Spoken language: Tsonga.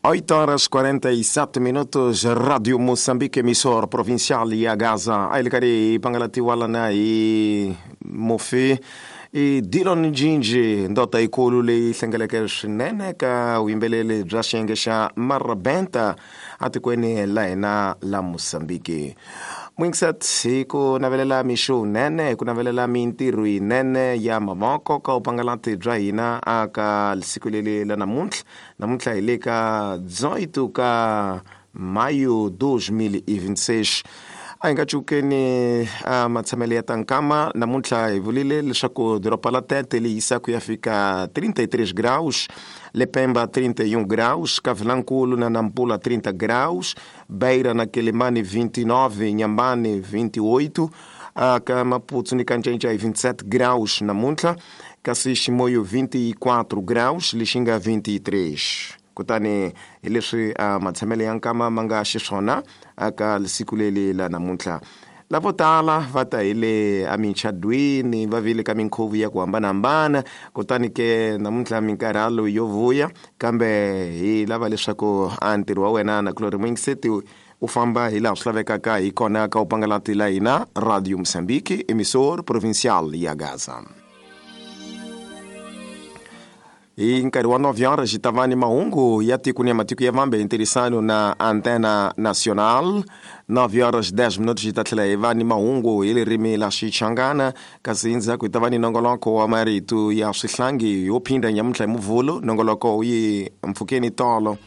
8 horas 47 minutos, Rádio Moçambique, emissor provincial ya Gaza. A hi karhi hi pangalatiwa na hi mufi i Dillon Jinji, ndota yikulu leyi hlengeleke swinene ka vuyimbeleri bya xiyenge xa Marabenta atikweni la hina la Mozambique. Mwingisat hi ku navelela mixo wunene, hi ku navelela mintirho yinene ya mavoko ka vupangalati bya hina aka siku leri la namuntlha. Namuntlha hi le ka 18 ka maio 2026. A hi nga cukeni a matshamelo ya tankama. Namuntlha hi vulile leswaku doroba la Tete li yisa ku ya fika 33 graus, Lepemba 31 graus, Cavilankulu na Nampula 30 graus, Beira na Quelimane 29, Inhambane 28, ka Maputo ni Kanjenjai 27 graus namuntlha, kasi Chimoio 24 graus, Lixinga 23. Kutani hi leswi matshamelo ya nkama ma nga xiswona aka siku leri la namuntlha. Lavo tala va ta hi le emichadweni, va vile ka minkhuvo ya ku hambanahambana, kutani ke namuntlha minkarhalo yo vuya, kambe hi lava leswaku a ntirho wa wena na Glory Mwingiseti u famba hi laha swi lavekaka hi kona ka vupangalati la hina Radio Mozambique, emissor provincial ya Gaza. Hi nkarhi wa 9 horas hi ta va ni mahungu ya tiko ni ya matiko ya vambe hi ntirhisano na Antena Nacional. 9 horas 10 minutos hi ta tlhela hi va ni mahungu hi ririmi la Xichangana, kasi endzhaku hi ta va ni nongoloko wa marito ya swihlangi yo phinda nyamuntlha hi Muvhulo. Nongoloko wu yi mpfhukeni tolo.